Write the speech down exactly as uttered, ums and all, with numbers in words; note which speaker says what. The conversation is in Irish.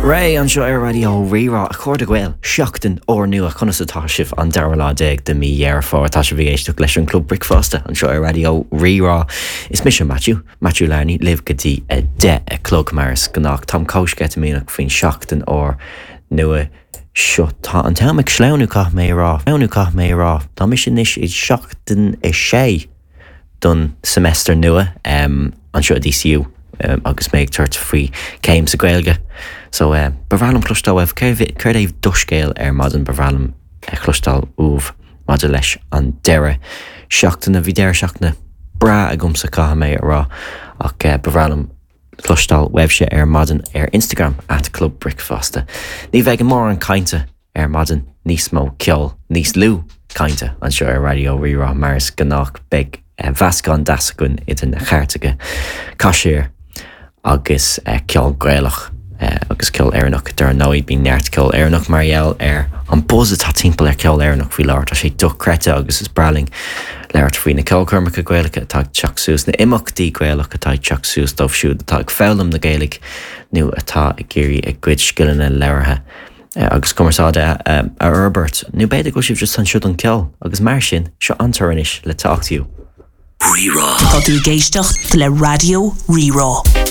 Speaker 1: Ré anseo ar Raidió Rí-Rá a chairde Gael seachtain úrnua conas atá sibh an dara lá déag de mí Dheireadh Fómhair tá sibh ag éisteacht leis an Club Bricfeasta anseo ar Raidió Rí-Rá. Is mise Matthew, Matthew Larney libh go dtí a deich a chlog mar is gnách Táim chomh sceitimíneach faoin seachtain úrnua seo tá an t-am ag sleamhnú caithfidh mé rá, sleamhnú caithfidh mé rá, Tá mise anois i seachtain a sé don semester nua um, anseo DCU um, agus mé ag tabhairt faoi céim sa Ghaeilge. So uh, ba bhreá liom cloisteáil uaibh céard é do scéal ar maidin ba bhreá liom cloisteáil uaibh maidir leis an deireadh seachtaine bhí deireadh seachtaine breá agamsa caithfidh mé a rá ach uh, ba bhreá liom cloisteáil uaibhse ar maidin ar Instagram at Club Bricfeasta. Ní bheidh mórán cainte ar maidin níos mó ceol níos lú cainte anseo ar Raidió Rí-Rá mar is gnách beidh uh, meascán deas againn idir na cairteacha caiséir agus uh, ceol Gaelach uh, agus ceol Éireannach dar ndóigh bíonn neart ceol Éireannach mar gheall ar an buzz atá timpeall ar ceol Éireannach faoi láthair tá sé dochreidte agus is breá linn labhairt faoi na ceolchoirmeacha Gaelacha atá ag teacht suas na imeachtaí Gaelach atá ag teacht suas dóibh siúd atá ag foghlaim na Gaeilge nó atá ag iarraidh a gcuid scileanna labhartha agus cumarsáide a fhorbairt nó b'fhéidir go sibh just anseo don ceol agus mar sin seo an anois le Talk to You.
Speaker 2: Rí-Rá. Tá tú ag éisteacht le Raidió Rí-Rá.